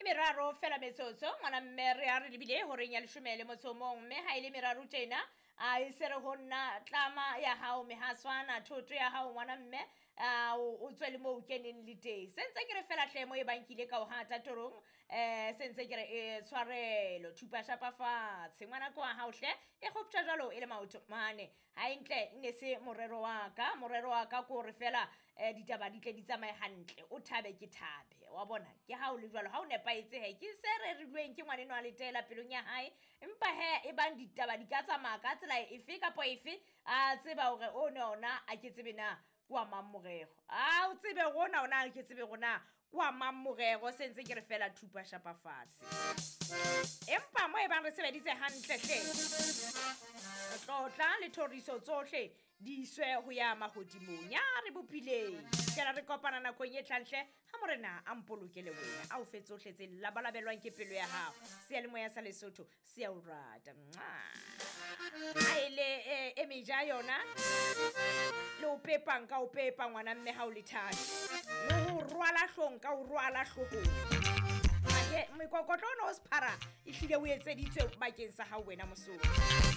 E meraro fela metsotso ngwana mme re a re lebile horeng ya leshome le motso o mong, mme ha e le meraro tjena a e se re ho nna tlama ya hao mehaswana thoto ya hao ngwana mme a o tswe le moo o keneng le teng. Se ntse ke re fela hle mo e bang ke ile ka o hata torong, se ntse ke re e tshwarelo thupa shapa fatshe ngwana ko wa hao hle e kgoptjwa jwalo e le maoto mane. Hantle ne se morero wa ka, morero wa ka ke hore fela ditaba di tle di tsamaye hantle, o thabe ke thabe wa bona. Ke ha o le jwalo ha o nepahetse he ke se rerilweng ke ngwaneno a letela pelong ya hae, empa he e bang ditaba di ka tsamaya ka tsela efe kapa efe, a tseba hore o ne ona a ke tsebe na ke wa mang morero, a o tsebe rona ona a ke tsebe rona ke wa mang morero. Se ntse ke re fela thupa shapa fatshe, empa mo e bang re sebeditse hantle hle, tlotla le thoriso tsohle di iswe ho ya mahodimong ya re bopileng. Fela re kopana nakong e tlang hle, ha morena a mpolokele wena, a o fe tsohle tse labalabelwang ke pelo ya hao. Seyalemoya sa Lesotho se a o rata. Ha e le e meja yona le o pepang ka o pepa ngwana mme ha o le thata, le ho rwala hlong ka o rwala hloohong. Mekokotlo ona o sephara ehlile o etseditswe bakeng sa hao wena Mosotho.